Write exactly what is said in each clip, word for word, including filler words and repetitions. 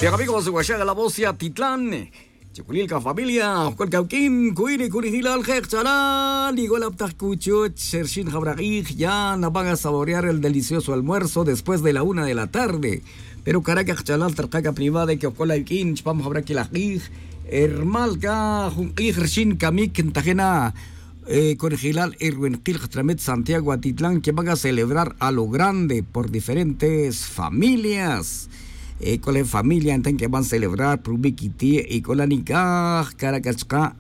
Amigo, se guaxaga la voz ya titlan. Chuculil ca familia, cual cauquín cuini cunijilal jek' chalal igual aptaj cuchuch xerxin jabra k'ij ya naban a saborear el delicioso almuerzo después de la una de la tarde. Pero caraca chalal tarkaca privada que ocol ayuquín chupam jabra quilaj k'ij. Hermal ca jun k'ij rxin camic ntajena. Conejilal erwin kil katramet santiago atitlan que van a celebrar a lo grande por diferentes familias. Cole familia ntan que van a celebrar prubi' quiti' y cole nicaj caraca chka'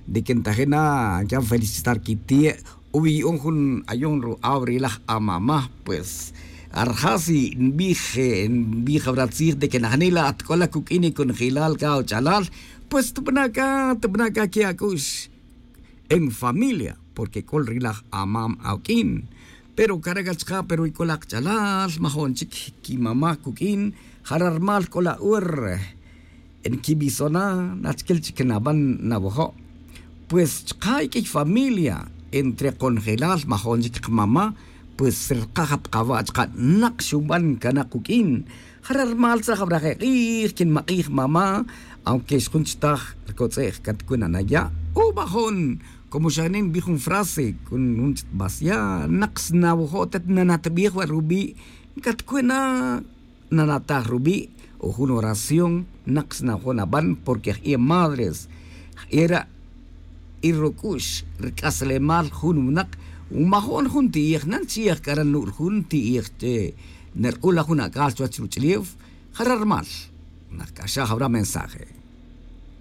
de que ntajena que van a felicitar quiti'. Ubi yu'un jun ayon ru'aw rilaj amama pues arjasi nbij nbij abra tzij de que najnila atc'ola cuq'uin y conejilal ca och'alal. Pues tbana' ca tbana' ca que ac'ux en familia porque c'ol rilaj amam awq'uin. Pero caraca chka' pero y c'ol akch'alal majo'n chic quimama' cuq'uin. Jara' rmal c'ol a'ur nquimisona' nachquil chic naban nawojo'. Pues chka' y q'uiy familia entre konjelal majo'n chic kamama'. Pues rkaj apkawa' chka' nak xuban canak cuq'uin. Jara' rmal tzaj abraj ek'ij quinmak'ij mama'. Aunque xjun chtaj rcotz'ej catcuna' naya' o bajon. Como xa nin nbij jun frase con jun chitbasya' nak sna wujo' tet nanatbij wa' rubi'. Catcuna' nanataj rubi' o jun oración. Nak sna wujo' naban porque jie madres jie ra' y ruc'ux rc'aslemal jun winak. Majo'n jun ti'ij nan chiyej c'ara' nu'r jun ti'ij che nerk'ul la jun ac'al chuwech ruch'ulef. Jara' rmal nak c'axaj abra mensaje.